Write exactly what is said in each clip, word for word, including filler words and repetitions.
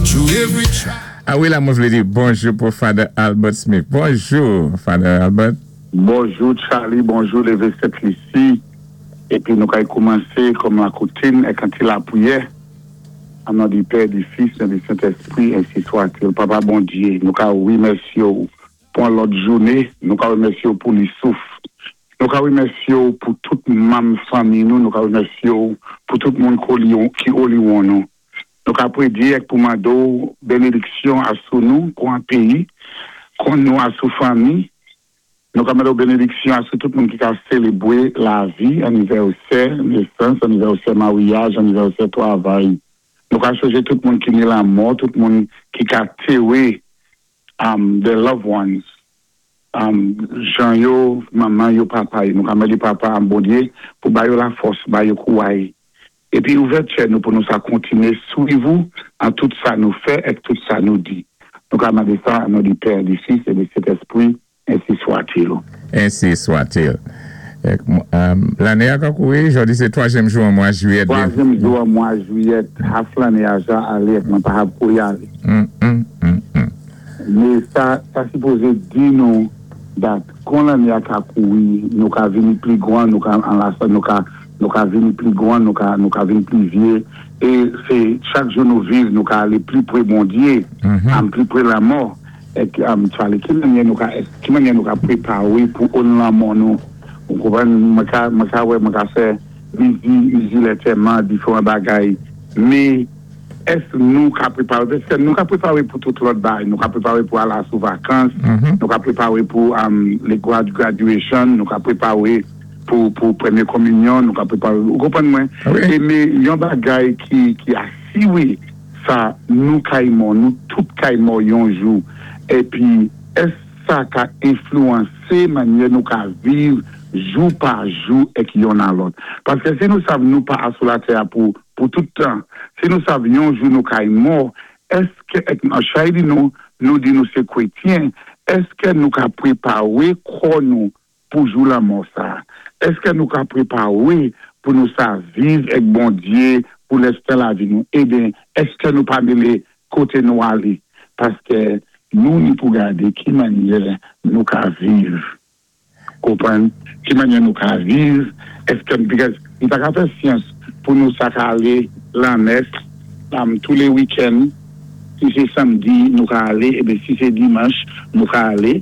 Through every trial. A wi, la, mwen vlé di bonjou pou Father Albert Smith. Bonjou, Father Albert. Bonjou Charlie, bonjou Lévé Sent-Lisi. Épi nou kay koumansé kòm la koutim èk an ti lapriyè. An non di Pè, di Fis, é di Sentèspwi, ensi swa-t-il. Papa Bondyé, nou ka wimèsyé pou an lòt jouné, nou ka wimèsyé pou li souf. Nou ka wimèsyé pou tout manm fanmi nou, nou ka wimèsyé pou tout moun ki oliwon nou. Nou ka prédyé èk pou mandé bénédiksyon asou nou, kon an péyi, kon nou asou fanmi. Nou ka mandé bénédiksyon asou tout moun ki ka sélébwé lavi, anivèsè, nésans, anivèsè maryaj, anivèsè twavay. Nou ka chonjé tout moun ki ni lanmò, tout moun ki ka téwé um, their loved ones. Um, jan yo, manman yo, papa yo. Nou ka mandé papa an Bondyé pou ba yo lafòs, ba yo kouway. Épi ouvè tchè nou pou nou sa kontiné swiv ou an tout sa nou fè èk tout sa nou di. Nou ka mandé sa an non di Pè, di Fis é di Sentèspwi, ensi swa-t-il. Ensi swa-t-il. Lanné a ka kouri, jòdi sé twazyèm jou an mwa jwiyèt. Twazyèm jou an mwa jwiyèt, half lanné a ja alé, mwen pa hab kouri alé. Mm, mm, mm, mm. Mé sa, sa sipozé di nou dat kon lanné a ka kouri, nou ka vini pli gwan, nou ka an la nou ka nou ka vini pli gwan, nou ka nou ka vini pli vyé, é sé chak jou nou viv, nou ka alé pli pwé Bondyé, am pli pwé lanmò, èk am Charlie, ki mannyè nou ka ki mannyè nou ka prépawé pou on lanmò nou? Ou konpwann, mwen ka mwen ka wè, mwen ka fè mizi, mizi lantèman, diferan bagay, mé èske nou ka prépawé? Paski nou ka prépawé pou tout lòt bagay, nou ka prépawé pou al sou vakans, nou ka prépawé pou um, le grad graduation, nou ka prépawé pou, pou pwémyé kominyon, nou ka prépawé, ou konpwann mwen? Wi. É mé yon bagay ki, ki asiwé sa nou kay mò, nou tout kay mò yon jou, épi èske sa ka enflouwansé mannyè nou ka viv jou pa jou èk yonn a lòt? Paski si nou sav nou pa asou latè pou, pou tout tan, si nou sav yon jou nou kay mò, èske, èk an chay di nou, nou di nou sé kwétyen, èske nou ka prépawé kò nou pou jou lanmò sa? Èske nou ka prépawé pou nou sa viv èk Bondyé pou lèstan lavi nou? Eben, èske nou pa mélé koté nou alé? Paski nou ni pou gadé ki mannyè nou ka viv. Konpwann? Ki mannyè nou ka viv? Èske, because nou ta ka fè syans pou nou sa ka alé lan mès um, tou lé week-end, si sé samdi nou ka alé, eben si sé dimanch nou ka alé,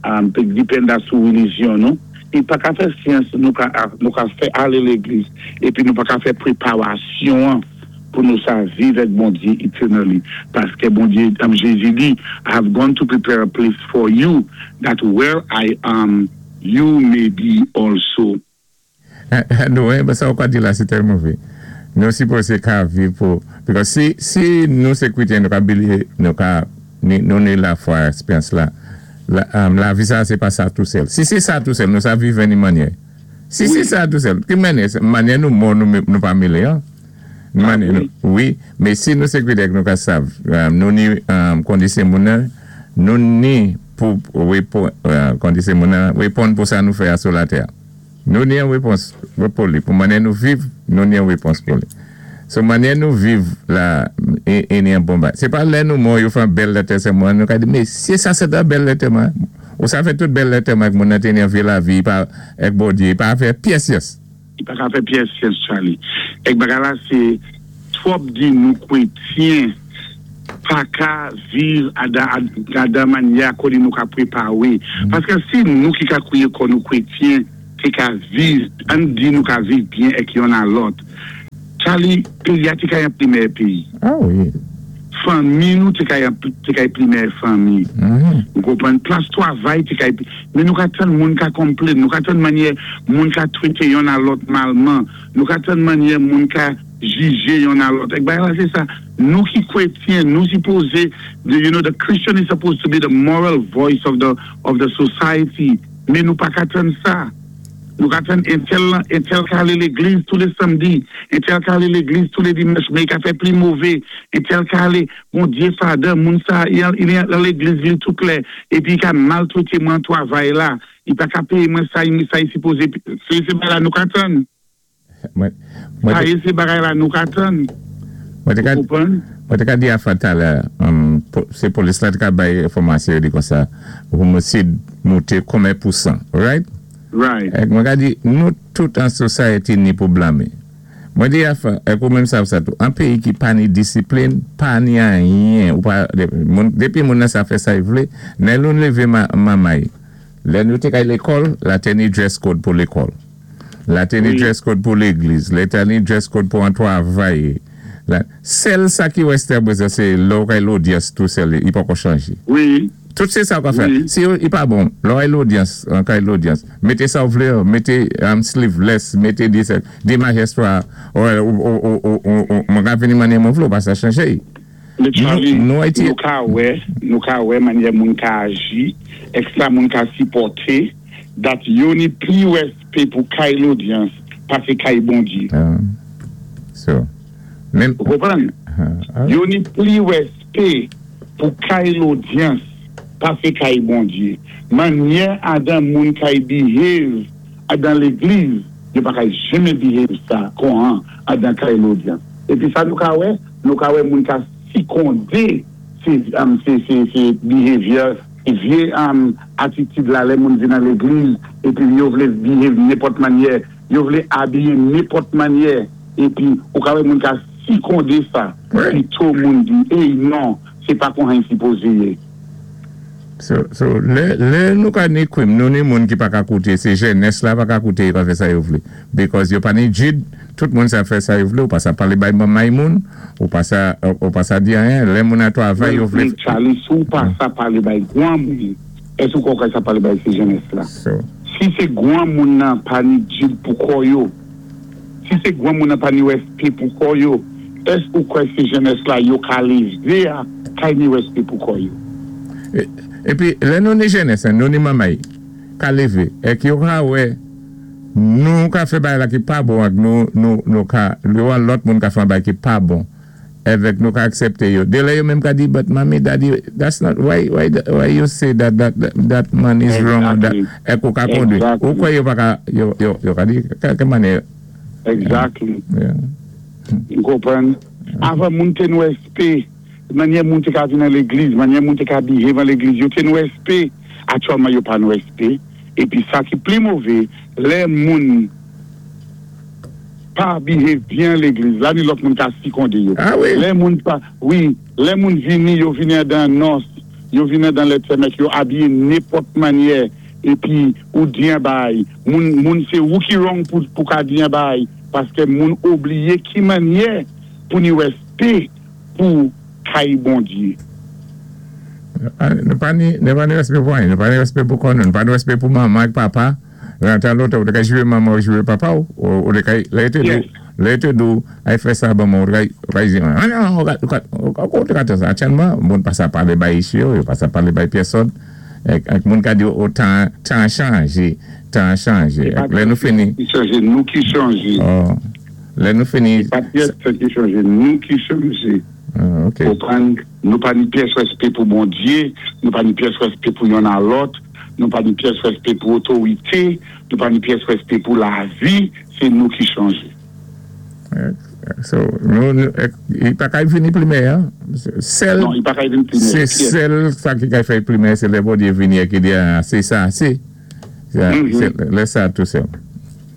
um, depend sou relijyon nou. I pa ka fè syans nou ka, nou ka fè alé légliz, épi nou pa ka fè préparasyon pou nou sa viv èk Bondyé eternally. Paski Bondyé, um, Jézi di, "I have gone to prepare a place for you, that where I am, you may be also." Nou, eh, sa ou ka di la, sé tèlman vwé. Nou sipozé ka viv pou, because si, si nou sé kwétyen, nou ka bilivé, nou ka, ni, nou ni lafwa èksperyans la, la, um, lavi sa, sé pa sa tou sèl. Si sé sa tou sèl, nou sa viv ni mannyè. Si Wi. Sé sa tou sèl, ki mannyè, mannyè nou mò, nou, nou pa mélé, an? Mannyè nou, wi, mé si nou sé kwétyen, nou ka sav, um, nou ni um, kondisé moun nan, nou ni pou, wépon, uh, kondisé moun nan, wéponn pou sa nou fè asou latè. Nou ni an wépons pou li. Pou mannyè nou viv, nou ni an wépons pou li. So mannyè nou viv la, é, é ni an bon ba. Sé pa lè nou mò, yo fè an bèl lantèman, nou ka di, mé si sa sé an bèl lantèman, ou sa fè tout bèl lantèman ak moun nan té ni an vi lavi, pa, èk Bondyé, pa fè pyès syans. I pa ka fè pyès syans, Charlie. Èk bagay la, sé twòp di nou kwétyen pa ka viv ada, ada mannyè koné nou ka prépawé. Paski si nou ki ka kwiyé kon nou kwétyen, té ka viv, an di nou ka viv byen èk yonn a lòt. Charlie, péyi a té ka yon pli mèyè péyi. Ah wi. Fanmi nou té ka yon té ka pli mèyè fanmi. Mhm. Ou konpwann, plas twavay té ka mé nou ka tann moun ka konplenn, nou ka tann mannyè moun ka twété yonn a lòt malman, nou ka tann mannyè moun ka jijé yonn a lòt. Èk bagay la sé sa, nou ki kwétyen, nou sipozé, the, you know, the Christian is supposed to be the moral voice of the of the society, mé nou pa ka tann sa. Nou ka tann entèl, entèl ka alé légliz tou lé samdi, entèl ka alé légliz tou lé dimanch, mé i ka fè pli mové, entèl ka alé, Bondyé Father, moun sa, i al i al légliz li tou klè, épi i ka maltwété mwen twavay la, i pa ka péyé mwen sa, i sa i sipozé, sé sé bagay la nou ka tann. Mwen, mwen Sa te, é sé bagay la nou ka tann. mwen té ka, Ou konpwann? Mwen té ka di afa talè, um, po, sé polis la té ka bay enfòmasyon di kon sa, homisid mouté konbyen pousan, right? Right. Ek mwen ka di, nou tout an society ni pou blamé. Mwen di afa, ek ou menm sav sa tou, an péyi ki pa ni disiplin, pa ni anyen, ou pa, de, moun, dépi moun nan sa fè sa y vlé, lè nou lévé ma, mamay, lè nou té kay lékòl, la té ni dress code pou lékòl. La té ni Wi. dress code pou légliz, la té ni dress code pou an twavay. La, sèl sa ki westè bezwen, sé lò kay lódyans tou sèl, i pa ko chanjé. Wi. Tout sé sa ou ka fè. Wi. Si yo, i pa bon, lò ay lódyans, an kay lódyans, mété sa ou vlé, mété um, sleeveless, mété di, di majestwa, ou, ou, ou, ou, ou, ou, ou, mwen ka vini manyè mwen vlé, pa sa chanje. Mé Charlie, Nou- nou Ayiti- nou ka wè, nou ka wè manyè moun ka aji, ek sa moun ka sipòté, dat yo ni pli wèspé pou kay lódyans, pasé kay Bondyé. Uh, so, menm, Ou konpwann? uh, Yo ni pli wèspé pou kay lódyans, pasé kay Bondyé. Manyè adan moun kay behave adan légliz, yo pa kay jenmen behave sa kon an adan kay lódyans. Épi sa nou ka wè, nou ka wè moun ka sikondé sé, um, sé, sé, sé behavior, sé vyé um, atitid la lè moun vin nan légliz, épi yo vlé behave nenpòt manyè, yo vlé abiyé nenpòt manyè, épi ou ka wè moun ka sikondé sa, Wi. pito moun di, ey non, sé pa kon han sipozé yé. So, so, lè, lè nou ka ni kwim, nou ni moun ki pa ka kouté, sé jenès la pa ka kouté, yo ka fè sa yo vlé. Because yo pa ni jid, tout moun sa fè sa yo vlé, ou pa sa palé bay mamay moun, ou pa sa, ou pa sa di anyen, lè moun a twavay yo vlé. Men Charlie, sou pa sa palé bay gwan moun, ès ou kwè sa palé bay sé jenès la? So, Si sé gwan moun nan pa ni jid pou kò yo, si sé gwan moun nan pa ni wèspé pou kò yo, ès ou kwè sé jenès la yo ka lévé a, kay ni wèspé pou kò yo? E, épi, lè nou ni jenès, nou ni mamay, ka lévé, ek yo ka wè, nou ka fè bay la ki pa bon ak nou, nou, nou ka, yo an lòt moun ka fè bay ki pa bon, evèk nou ka aksepté yo. Dé lè yo menm ka di, but mami, daddy, that's not, why, why, why you say that, that, that man is wrong, or that, Exactly. ek ou ka kondwi. Exactly. Ou kwè yo pa ka, yo, yo, yo ka di, ka, ke manyè, Exactly. yeah. Ou konpwann? Avan moun té ni wèspé, manyè moun té ka vin nan légliz, manyè moun té ka behave nan légliz, yo té ni wèspé, aktyèlman yo pa ni wèspé. Épi sa ki pli mové, lè moun pa behave byen légliz, la ni lòt moun ka sikondé yo. Ah wi. Lè moun pa, wi, lè moun vini, yo vini dan nòs, yo vini dan lè tèmèk, yo abiyé nenpòt manyè, épi ou di an bay, moun, moun sé ou ki wrong pou, pou ka di an bay, paské moun oubliyé ki manyè pou ni wèspé pou kay Bondyé. Ah, Nou pa ni, nou pa ni wèspé pou anyen, nou pa ni wèspé pou kò nou, nou pa ni wèspé pou manman ak papa. Lan tan lòt, ou té ka jwé manman ou jwé papa ou, ou, ou té kay, lè té dou, Yes. lè té dou, ay fè sa ban man, ou té kay, ou kay di, ah non, ou ka, ou ka, ou ka, ou té ka té sa. Aktyèlman, moun pa sa palé bay ishi yo, yo pa sa palé bay pèsòn. Ek, ek moun ka di, oh, tan, tan chanjé, tan chanjé. Ek, lè nou fini, Ki chanjé, nou ki chanjé. oh, lè nou fini, Pa pyès ki chanjé, nou ki chanjé. ah, ok. Konpwann, nou pa ni pyès wèspé pou Bondyé, nou pa ni pyès wèspé pou yonn a lòt, nou pa ni pyès wèspé pou otorité, nou pa ni pyès wèspé pou lavi, sé nou ki chanjé. So, nou, nou, ek, i pa kay vini pli meyè, sèl, Non, i pa kay vin pli Se meyè. sèl sa ki kay fè pli meyè, se lè Bondyé vini ki di, ah, sé sa, sé. Se, Mhm. se, lè sa tou sèl.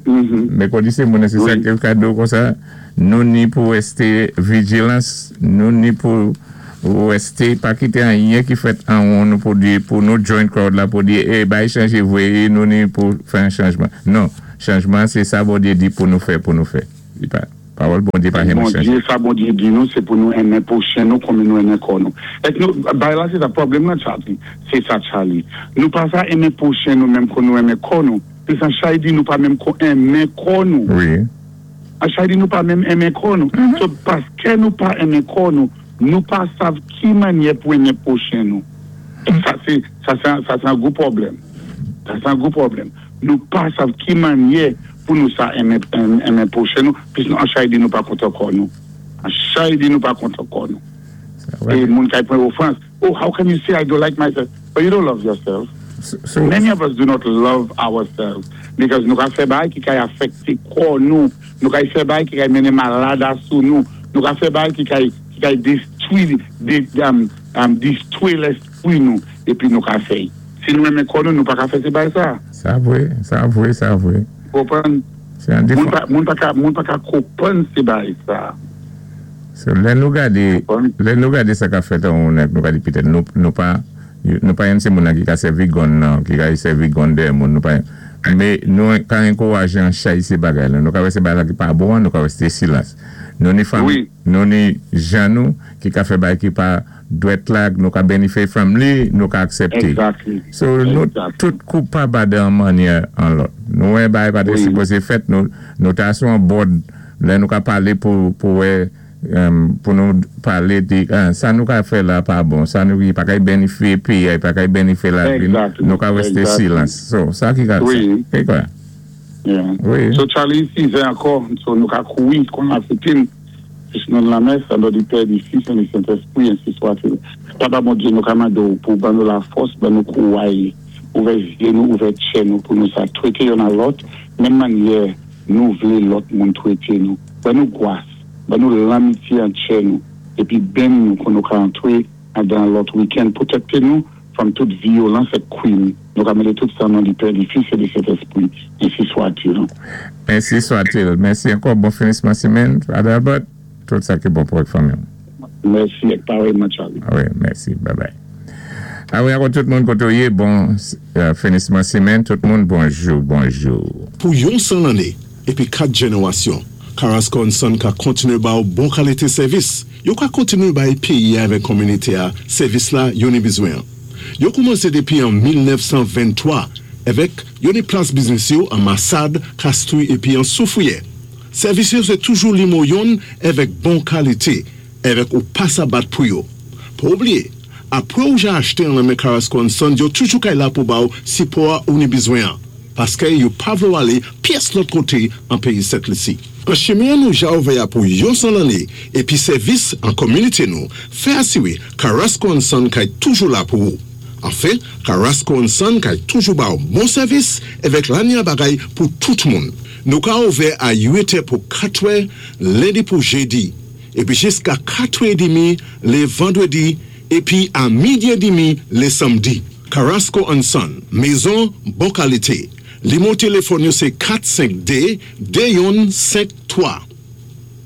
Mhm. Mé kon di sé moun, sé sa Wi. ki kado kon sa, nou ni pou wèsté vijilans, nou ni pou wèsté, pa kité anyen ki fèt an won nou pou di, pou nou join crowd la, pou di, eh, bay chanje vwé, nou ni pou fè an chanjman. Non, chanjman, sé sa Bondyé di pou nou fè, pou nou fè. I pa, pawòl Bondyé pa jenmen chanje. Bondyé, sa Bondyé di nou, sé pou nou enmen pwochen nou kòm nou enmen kò nou. Ek nou, bay la sé sa pwoblèm nan Charlie, sé sa Charlie. Nou pa sa enmen pwochen nou menm kon nou enmen kò nou. Pi san chay di nou pa menm kon enmen kò nou. Wi. An chay di nou pa menm enmen kò nou. So, paské nou pa enmen kò nou, nou pa sav ki manyè pou enmen pwochen nou. Sa sé, sa sé, sa sé an gwo pwoblèm. Sa sé an gwo pwoblèm. Nou pa sav ki manyè pou nou sa enmen, enmen pwochen nou, pis nou an chay di nou pa kontan kò nou. An chay di nou pa kontan kò nou. É moun kay pran ofans. Oh, how can you say I don't like myself? But you don't love yourself. So, Many of us do not love ourselves because nou ka fè bay ki kay afekte kò nou, nou kay fè bay ki kay mennen malad asou nou, nou ka fè bay ki kay, ki kay destwi Détwi, dé, um, um, distwé léspwi nou, épi nou ka fè. Si nou renmen kò nou, nou pa ka fè sé bagay sa. Sa vwé, sa vwé, sa vwé. Konpwann? Sé an Moun défwa. pa, moun pa ka, moun pa ka konpwann sé bagay sa. So, lè nou gadé, Konpwann? Lè nou gadé sa ka fèt an moun nou ka di pitèt nou, nou pa, nou pa yon sé moun nan ki ka sèvi gun nan, ki ka sèvi gun dèyè moun, nou pa, mé nou ka ankourajé an chay sé bagay la, nou ka wè sé bagay la ki pa bon, nou ka wè sé silans. Nou ni fanmi, Wi. Nou ni jan nou ki ka fè bagay ki pa dwèt la, nou ka benefit from li, nou ka aksepté. Exactly. So nou Exactly. tout koupab dan mannyè an lòt. Nou wè bagay pa té Wi. Sipozé fèt, nou, nou ta sou an board, lè nou ka palé pou, pou wè, um, pou nou palé di, ah, sa nou ka fè la pa bon, sa nou ki pa kay benefit péyi, pa kay benefit la vi, Exactly. nou ka wè Exactly. silans. So, sa ki ka, Wi. sa, ki kwa? Yeah. Wi. So Charlie, sizè ankò, so nou ka kouwi kon a fètin, nan lamès, an non di Pè, di Fis, an di Sentespwi, ensi swa-t-il. Papa Bondyé, nou ka mandé ou pou ban nou lafòs, ban nou kouway, ouvè zyé nou, ouvè tchè nou, pou nou sa twété youn a lòt, menm mannyè nou vlé lòt moun twété nou. Ban nou gwas, ban nou lanmityé an tchè nou, épi benni nou kon nou ka antwé dan lòt weekend, pwotèkté nou from tout vyolans é kwim. Nou ka mandé tout sa nan di Pè, di Fis, é di Sentespwi, ensi swa-t-il. Ensi swa-t-il. Mèsi ankò, bon finisman simenn, Adalbert. Tout sa ki bon pou ak fanmi. Mèsi, é parèyman, Charlie. Ah wi, mèsi. Bye bye. Ah wi, ankò tout moun koté ou yé, bon euh, finisman simenn, tout moun bonjou, bonjou. Pou yon san lanné, épi kat jénéwasyon, Carrasco and Son ka kontiné ba ou bon kalité sèvis. Yo ka kontiné bay péyi avèk kominité a sèvis la yo ni bizwen. Yo koumansé dépi an mil nèf san venntwa avèk yo ni plas biznis yo an Massade, Castries épi an Soufrière. Sèvis yo sé toujou nimwo youn avèk bon kalité, avèk ou pa sa bat pou yo. Pa oubliyé, apwé ou ja achté an nan men Carrasco and Son, yo toujou kay la pou ba ou sipò ou ni bizwen an. Paské yo pa vlé ou alé pyès lòt koté an péyi Sent Lisi. An chimen nou ja ouvè a pou yon san lanné, épi sèvis an kominité nou, fè asiwé Carrasco and Son kay toujou la pou ou. Anfen, Carrasco and Son kay toujou ba ou bon sèvis avèk lanya bagay pou tout moun. Nou ka ouvè a uit è pou katwè, lendi pou jédi, épi jiska katwè édmi lé vandwédi, épi a midi édmi lé sanmdi. Carrasco and Son, mézon bon kalité. Limwo téléfòn yo sé kat senk dé, dé youn senk twa.